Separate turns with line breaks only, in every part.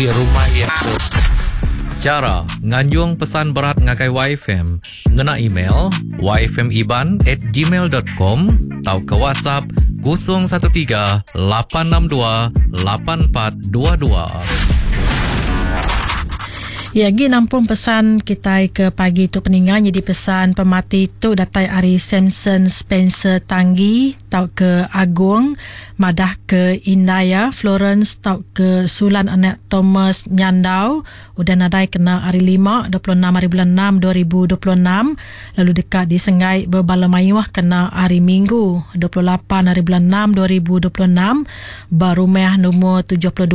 Rumah iya ke. Chara nganjung pesan berat ngagai YFM ngena email yfmiban at gmail dot com tauka WhatsApp 013 862 8422.
Iya agi nampung pesan kitai ke pagi tu peninga nyadi pesan pemati tu datai ari Samson Spencer Tanggi tauka Agong Madah ke indai iya Florence tauka Sulan anak Thomas Nyandau udah nadai kena hari Lima 26 hari bulan enam 2026 lalu deka disenggai bebala mayuh kena hari Minggu 28 hari bulan enam 2026 ba rumah lumur 72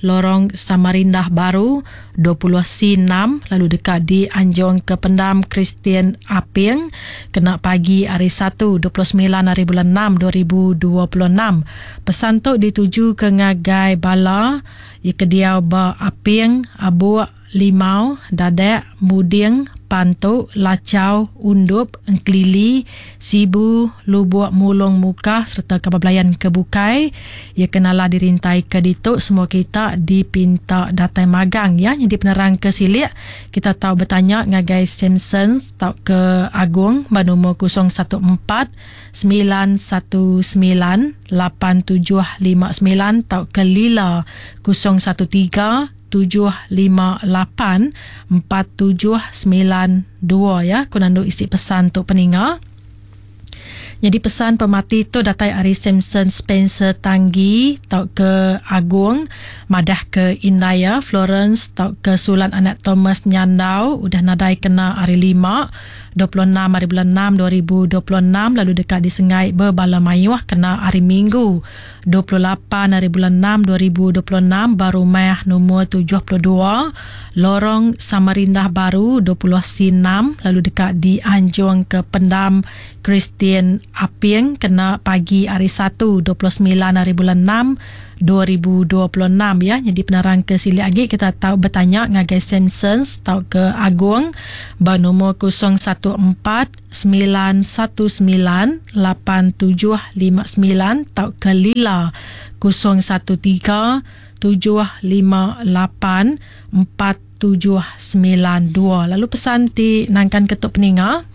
Lorong Samarindah Baru 20 C enam lalu deka dianjung ke Pendam Kristian Aping kena pagi hari Satu 29 hari bulan enam 2026. Pesan tu ditujuka ngagai bala iya ke diau ba Aping, Abuk, Limau, Dadek, Muding, Pantu, Lachau, Undup, Engkelili, Sibu, Lubok Mulong Mukah sereta kaban belayan ke bukai. Iya ke nala dirintaika ditu semua kita dipinta datai magang ya. Nyadi penerang ke silik kita tau betanya ngagai Samson tauka Agong ba nomor 014 919 8759 tauka Lila 013 758 4792 ya. Ku nandu isi pesan tu peninga. Nyadi pesan pemati tu datai ari Samson Spencer Tanggi tauka Agong madah ke indai iya Florence tauka Sulan anak Thomas Nyandau udah nadai kena hari Lima, 26 hari bulan enam 2026 lalu deka disengai bebala mayuh kena hari Minggu, 28 hari bulan enam 2026 ba rumah lumur 72 Lorong Samarindah Baru 20 C enam lalu deka dianjung ke Pendam Kristian Aping kena pagi hari Satu 29 hari bulan enam 2026 ya. Nyadi penerang ke silik agi kita tau betanya ngagai Samsons tauka Agong ba nomor 014 919 8759 tauka Lila 013 758 4792. Lalu pesan ti nangkan ke tu peninga.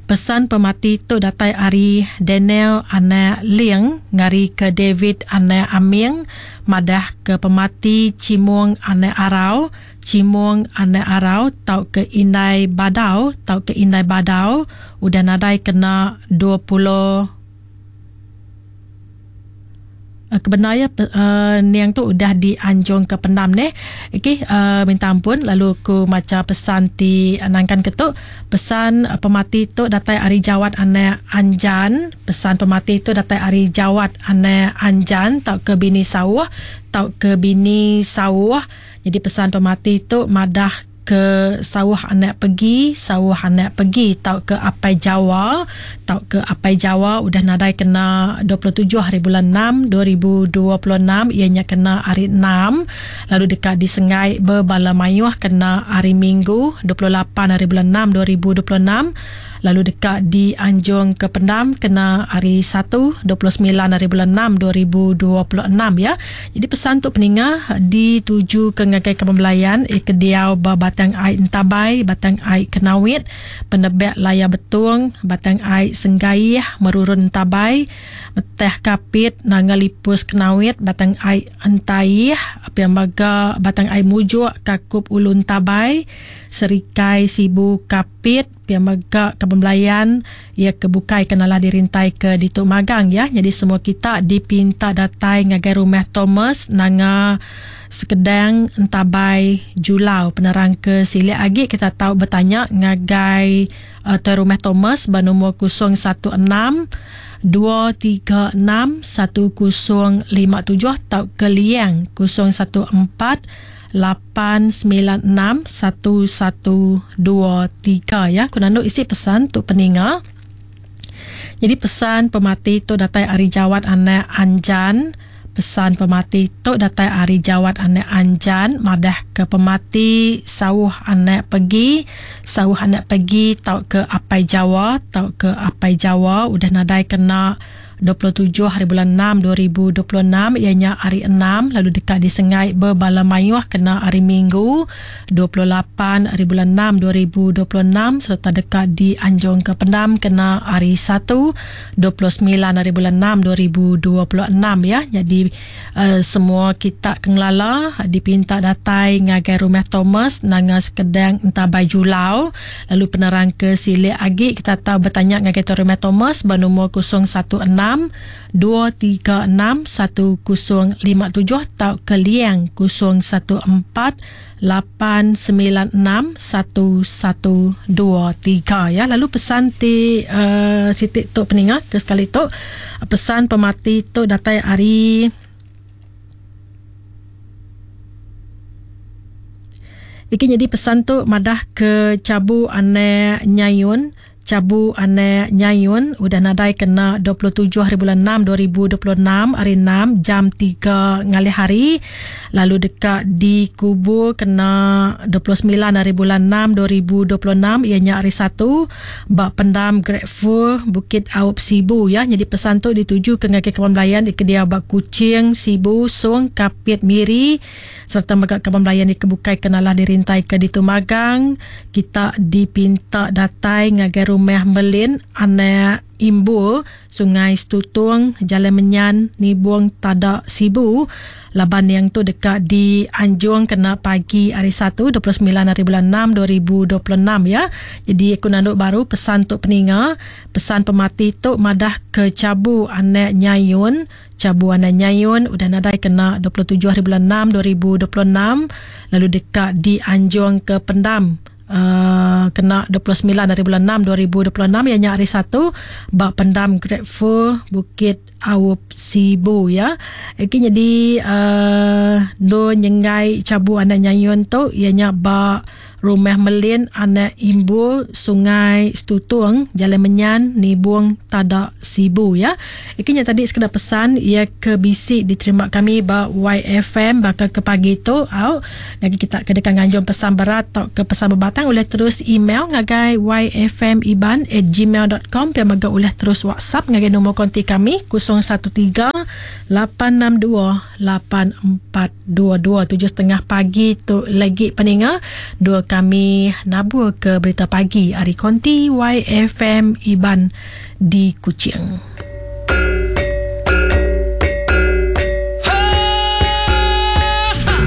Pesan pemati tu datai ari Daniel anak Ling ngari ke David anak Aming madah ke pemati Chimung anak Arau, Chimung anak Arau tauka Indai Badau tauka Indai Badau udah nadai kena 20 Kebendar iya niang tu udah dianjung ke pendam neh. Okey minta ampun lalu ku macha pesan ti nangkan ke tu. Pesan pemati tu datai ari Jawat anak Anjan. Pesan pemati tu datai ari Jawat anak Anjan tauka bini Sauh tauka bini Sauh. Nyadi pesan pemati tu madah ke sauh anak pegi, sauh anak pegi tauka apai Jawa tauka apai Jawa udah nadai kena 27 hari bulan 6 2026 iya nya kena hari 6 lalu deka disenggai bebala mayuh kena hari Minggu 28 hari bulan 6 2026 lalu deka dianjung ke pendam kena hari Satu 29 hari bulan 6 2026 ya. Jadi pesan tu peninga dituju ke ngagai kaban belayan eh ke diau ba Batang Ai Entabai, Batang Ai Kenawit, Penebek Layar Betong, Batang Ai Senggaih, Merurun Entabai, Meteh Kapit, Nanga Lipus Kenawit, Batang Ai Entaih, pia mega Batang Ai Mujuk, Kakup Ulu Entabai, Serikai Sibu Kapit, Pia mega kaban belayan iya ke bukai ke nalah dirintai ke ditu magang ya. Nyadi semua kita dipinta datai ngagai rumah Thomas Nanga Sekedang Entabai Julau. Penerang ke silik agi kita tau betanya ngagai uh, tuai rumah Thomas ba nombor 016 236 1057 tauka Liang 014 896 1123 ya. Ku nandu isi pesan tu peninga. Jadi pesan pemati tu datai ari Jawat anak Anjan. Pesan pemati tu datai ari Jawat anak Anjan madah ke pemati sauh anak pegi, sauh anak pegi tauka apai Jawa tauka apai Jawa udah nadai kena. 27 hari bulan 6 2026 iya nya hari 6 lalu deka disengai bebala mayuh kena hari Minggu 28 hari bulan 6 2026 sereta deka dianjungka pendam kena hari 1 29 hari bulan 6 2026 ya. Jadi uh, semua kita ke ngelala dipinta datai ngagai rumah Thomas Nanga Sekedang Entabai Julau lalu penerang ke silik agi kita tau betanya ngagai tuan rumah Thomas ba nombor 016 236 1057 tauka liang 014 896 1123 ya. Lalu pesan ti uh, siti tu peninga ke sekali tu pesan pemati tu datai ari Iki nyadi pesan tu madah ke Chabu Anak Nyayun Chabu Anak Nyayun udah nadai kena 27 hari bulan 6 2026 hari 6 jam 3 ngalih hari lalu deka dikubur kena 29 hari bulan 6 2026 iya nya hari 1 ba pendam Grateful Bukit Aup Sibu ya. Nyadi pesan tu dituju ke ngagai kaban belayan di kedia ba Kuching, Sibu, Song, Kapit, Miri sereta mega kaban belayan di kebukai ke nalah dirintai ke ditu magang. Kita dipinta datai ngagai rumah Melin anak Imbul, Sungai Setutung, Jalai Menyan, Nibong Tada, Sibu. Laban yang tu deka dianjung kena pagi hari 1 29 hari bulan 6 2026 ya. Jadi aku nanduk baru pesan tu peninga, pesan pemati tu madah ke Chabu anak Nyayun, Chabu anak Nyayun udah nadai kena 27 hari bulan 6 2026 lalu deka dianjung ke pendam Uh, kena 29 hari bulan 6 2026 iya nya hari 1 ba pendam Grateful Bukit Aup Sibu ya. Iki nyadi uh, no nyenggai Chabu anak Nyayun tu iya nya ba Rumah Melin anak Imbul Sungai Setutung Jalai Menyan Nibong Tada Sibu ya. Iki nya tadi sekeda pesan iya ke bisi diterima kami ba YFM baka ke pagi tu au. Ngagai kita ke deka nganjung pesan berat tauka pesan bebatang ulih terus email ngagai yfmiban@gmail.com pia mega ulih terus WhatsApp ngagai nombor konti kami 013 862 8422 7.30 pagi tu lagi peninga dua kami nabur ke berita pagi ari konti YFM Iban di Kuching.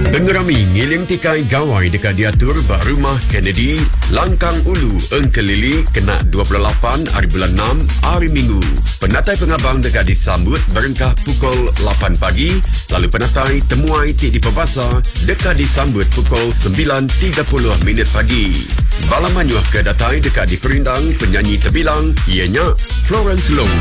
Pengerami Ngiling Tikai Gawai deka diatur ba Rumah Kennedy, Langkang Ulu, Engkelili kena 28 ari bulan 6, Hari Minggu. Penatai pengabang deka disambut berengkah pukul 8 pagi lalu penatai temuai ti dipebasa deka disambut pukul 9.30 minit pagi. Bala mayuh ke datai deka diperindang penyanyi tebilang iya nya Florence Long.